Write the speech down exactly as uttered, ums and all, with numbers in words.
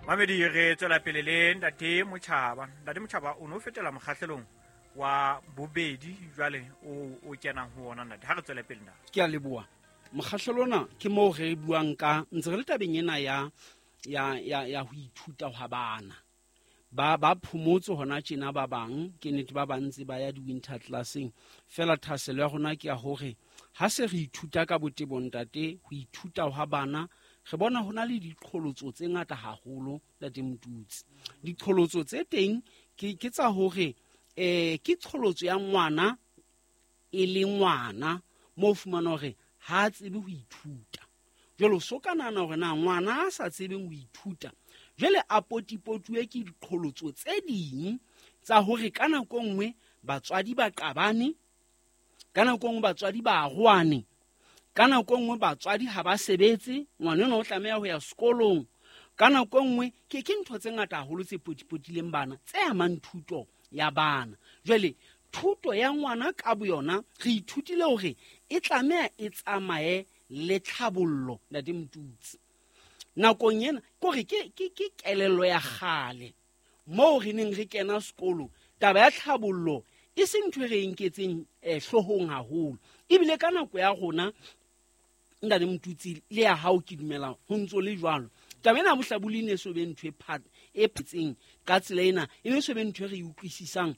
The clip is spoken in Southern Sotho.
Mamedi, re tswela pele le Ntate Motjhaba. Ntate Motjhaba, o no fetela mokgahlelong wa bobedi jwale o o kenang ho ona, ntate. Ha re tswele pele, ntate. Ke a leboha. Mokgahlelo ona ke moo re buang ka ntse re le tabeng ena ya ya ya ya ho ithuta hwa bana. Ba ba phomotse hona tjena, ba bang ke nnete ba bantse ba ya di-winter classeng. Fela thahasello ya rona ke ya hore ha se re ithuta ka botebo, ntate, ho ithuta hwa bana, re bona ho na le diqholotso tse ngata haholo, Ntate Motutsi. Diqholotso tse teng ke ke tsa hore eh ke qholotso ya ngwana e le ngwana mo fumana hore ha a tsebe ho ithuta. Jwale so ka nahana hore na ngwana a sa tsebeng ho ithuta jwale a potipotuwe ke diqholotso tse ding tsa hore ka nako nngwe batswadi ba qabane, ka nako nngwe batswadi ba arohane, ka nako nngwe batswadi ha ba sebetse, ngwana enwa o tlameha ho ya sekolong. Ka nako nngwe ke ke ntho tse ngata haholo tse potipotileng bana tse amang thuto ya bana. Jwale thuto ya ngwana ka boyona re ithutile hore e tlameha e tsamaye le tlhabollo, Ntate Motutsi. Nakong ena kore ke ke ke kelello ya kgale moo re neng re kena sekolo, taba ya tlhabollo e se ntho e re nketseng eh, hloohong haholo. Ebile ka nako ya rona, Ntate Motutsi, le ya hao ke dumela ho ntso le jwalo. Taba ena ya bohlabodi e ne so be ntho e e phetseng ka tsela ena, e ne so be ntho e re e utlwisisang.